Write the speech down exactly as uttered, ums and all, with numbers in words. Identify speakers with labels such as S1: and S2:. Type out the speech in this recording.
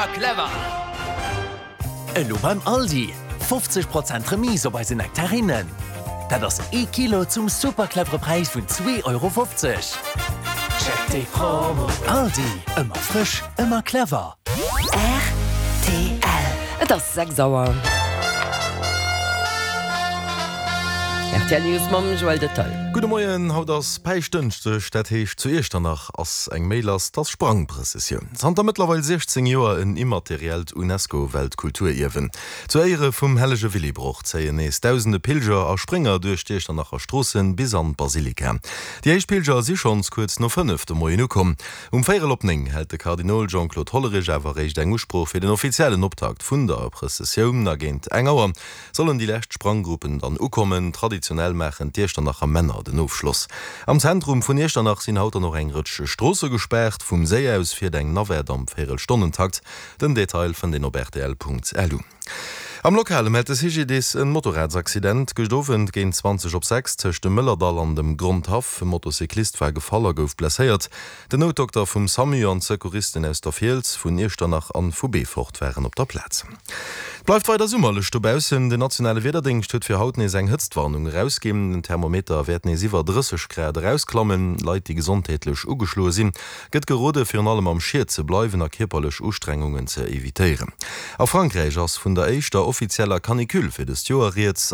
S1: Ëmmer clever!
S2: Elo beim Aldi, fofzeg Prozent Remise op eise Nektarinnen. Dat ass ee Kilo zum super clevere Präis vun zwee Euro fofzeg.
S1: Check déi Promo!
S2: Aldi, ëmmer frësch, ëmmer clever.
S3: Rtl.
S4: Et ass sechs Auer. Rtl News mam Joël Detail.
S5: Gudde Moien, haut ass Päischtdënschdeg, dat heescht zu Iechternach ass eng méi lass, 't ass Sprangprëssessioun. Zanter mëttlerweil siechzéng Joer en immateriellt Unesco-Weltkulturierwen. Zu Éiere vum hellege Willibrord zéien nees dausende Pilger a Sprénger duerch d'Iechternacher Stroossen bis an d'Basilika. Déi éischt Pilger si schonns kuerz no fënnef de Moien ukomm. Um véierel op néng hält de Kardinol Jean-Claude Hollerich awer réischt eng Usprooch fir den offiziellen Optakt vun der Prëssessioun a géint eng Auer sollen déi lescht Spranggruppen dann ukommen. Traditionell maachen d'Iechternacher Männer den Ofschloss. Am Zentrum vun Iechternach sinn haut dann och eng Rëtsch Stroosse gespaart. Vum Séi aus fiert eng Navette am Véierelstonnentakt. Den Detail fënnt een op rtl.lu. Am Lokale mellt de C G D I S en Motorradsaccident gëscht Owend géint zwanzeg op sechs tëscht dem Mëllerdall an dem Grondhaff. E Motocyclist war gefall a gouf blesséiert. Den Noutdokter vum SAMU an d'Secouristen aus der Fiels, vun Iechternach an vu Beefort waren op der Plaz. Et bleift weider summerlech dobaussen. Den nationale Wiederdéngscht huet fir haut nees eng Hëtztwarnung erausginn. Den Thermometer wäert nees iwwer drësseg Grad erausklammen. Leit, déi gesondheetlech ugeschloe sinn, gëtt gerode virun allem am Schiet ze bleiwen a kierperlech Ustrengungen ze evitéieren. A Frankräich ass vun der éischter offizieller Canicule fir dëst Joer rieds.